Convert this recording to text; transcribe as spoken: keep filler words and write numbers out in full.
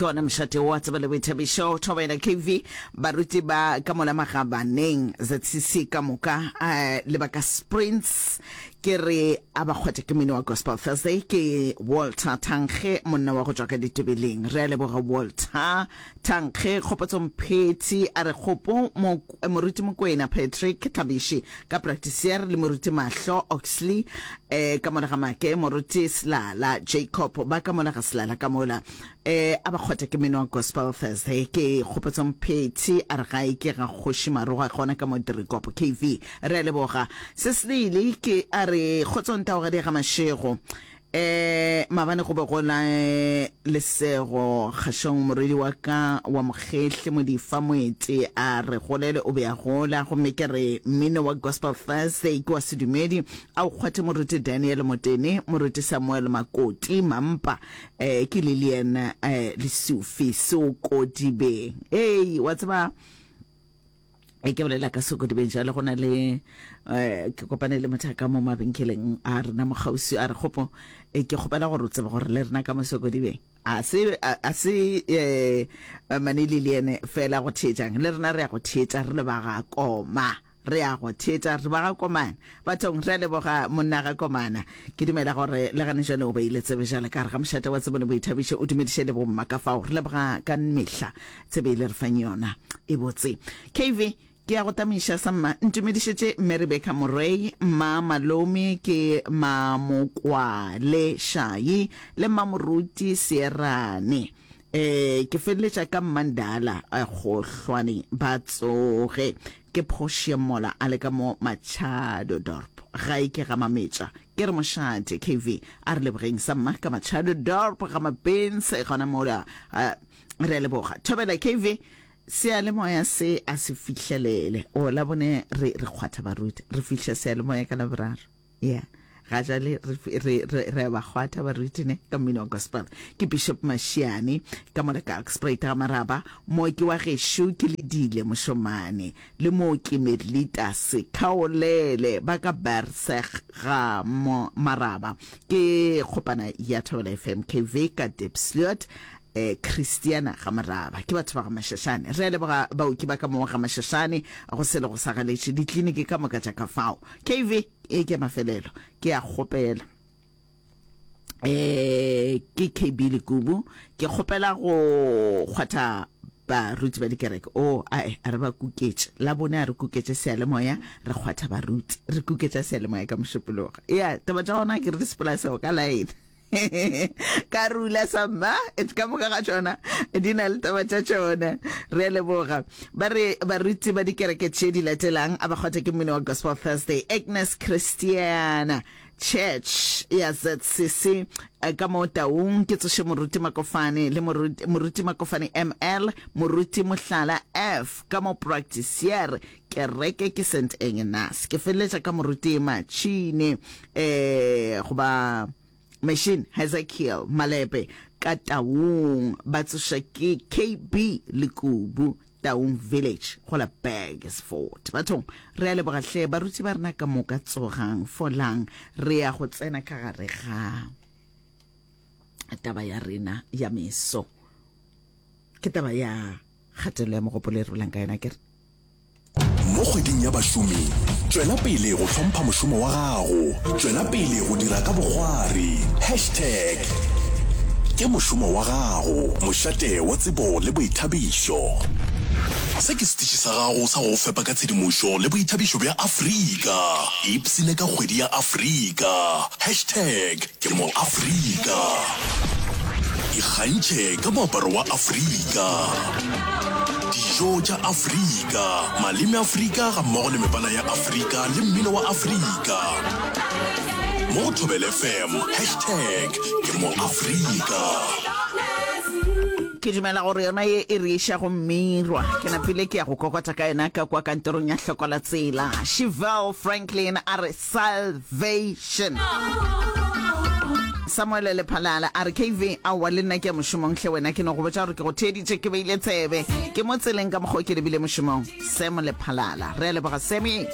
Ke gona mošate wa tsebo le boithabišo Thobela K V. Baruti ba ka mola Magabaneng Z C C ka moka eh, le ba ka Sprints ke re a ba kgwathe ke mmino wa Gospel Thursday. Ke Walter Thankge, monna wa go tšwa ka ditebeleng. Re a leboga, Walter Thankge. Kgopotso Mphethi a re kgopo mo, moruti Mokwena Patrick Thabishi ka Practicier le moruti Mahlo Oxley eh, ka mola ga Make, moruti Selala Jacob ba ka mola ga Selala ka mola eh, a ba kgwatha ke mmino wa Gospel Thursday. Ke Kgopotso Mphethi a re gae ke ga Kgoši Maroga gona ka mo Dirikopo. K V, re a leboga. Se selele ke a re kgotsong taogadi ga Mašego, eh maabane go be go la lesego kgašong, morwedi wa ka wa mokgehle Modifa Moeti a re golele o be a gola, gomme ke re mmino wa Gospel Thursday ke wa sedumedi, a o kgwathe moruti Daniel Motene, moruti Samuel Makoti Mampa. eh ke Lilian eh Lesufi Sokodibeng. Ei, wa tseba e ke bolela ka Sokodibeng jalo, go na le eh ke kopane le motho ka mo mabenkeleng a rena mo kgauswi, a re kgopo e ke kgopela gore o tsebe gore le rena ka mo Sokodibeng a se a se eh mane Lilian fela go theetšang, le rena re ya go theetša, re le ba ga koma, re ya go theetša re ba ga komana bathong. Re a leboga monna ga komana. Ke dumela gore le gane jale o beile tsebe jale ka re ga mošate wa tsebo le boithabišo, o dumediše le bomma ka fao. Re leboga ka mehla tsebe e le re fang yona e botse. K V, ke ya go tamiša sa mma, ntumedišetše mme Rebecca Morei, mma Malome ke Mamokwale Šai le mma Moruti Seerane, eh ke feleletša ka Mmandala Gohlwane, ba tsoge. Ke Portia mola a le ka mo Machado Dorp, gae ke ga Mametša. Ke re mošate. K V, a re lebogeng sa mma ka Machado Dorp ga Mabens gona mola, re a leboga. Thobela K V, seyalemoya se a se fihlelele o la bone, re re kgwatha baruti, re fihla seyalemoya ka Laboraro ya ga jale, re re re re ba kgwatha baruti ne ka mmino wa gospel. Ke Bishop Mashiane ka mola ka Oxspruit ga Maraba, mooki wa gešo ke Ledile Mošomane le mooki Medlita Sekhaolele ba ka Berseg ga Maraba. Ke kgopana ya Thobela F M. K V ka Diepsloot, eh Christiana ga Maraba, ke batho ba ga Mashashane. Re a leboga baoki ba ka mo ga Mashashane, go se le go sa galetše ditliniki ka moka tša ka fao. K V, e ke mafelelo, ke a kgopela eh ke K B Lekubu, ke kgopela go kgwatha baruti ba dikereke o ae a re ba kuketše la bone, a re kuketše seyalemoya, re kgwatha baruti, re kuketša seyalemoya ka Mošupologo. Ya taba tša gona ke re di sepela seo ka line ka rula samma ka moka ga tšona di na le taba tša tšona. Re a leboga. Ba re baruti ba dikereke tše di latelang a ba kgwatha ke mmino wa Gospel Thursday: Agnes Christiana Church ya Z C C ka mo Taung, ke tsoše moruti Makofane le moruti, moruti Makofane M L, moruti Mohlala F ka mo Practicier, kereke ke Saint Agnes. Ke feleletša ka moruti Machine eh goba Machine Hezekiel Malepe ka Taung, ba tsoša ke K B Lekubu, Taung Village go la Burgersfort. Bathong re a leboga hle baruti ba rena ka moka, tsogang folang, re ya go tsena ka gare ga taba ya rena ya meso, ke taba ya kgatelelo ya mogopolo e re bolang ka yona ke re. Mo kgweding ya bašomi, tšwela pele go hlompha mošomo wa gago, tšwela pele go dira ka bokgwari. Hashtag ke mošomo wa gago. Mošate wa tsebo le boithabišo, se ke setiši sa gago sa go fepa ka tshedimošo le boithabišo bja Afrika. Ipsene ka kgwedi ya Afrika. Hashtag ke mo Afrika. Ikgantšhe ka moaparo wa Afrika, dijo tša Afrika, maleme Afrika ga mmogo le mebala ya Afrika le mmino wa Afrika mo go Thobela F M. Hashtag ke mo Afrika. Ke dumela gore yona ye e re iša go mmirwa, ke napile ke ya go kokota ka yona ka kwa kantorong ya hloko la tsela. Shivel Franklin a re salvation. Samuel Lephalala a re K V, aowa le nna ke ya mošomong hle wena, ke no go botša gore ke go theeditše, ke beile tsebe, ke mo tseleng ka mokgwa o ke lebile mošomong. Sam Lephalala, re a leboga Sammy.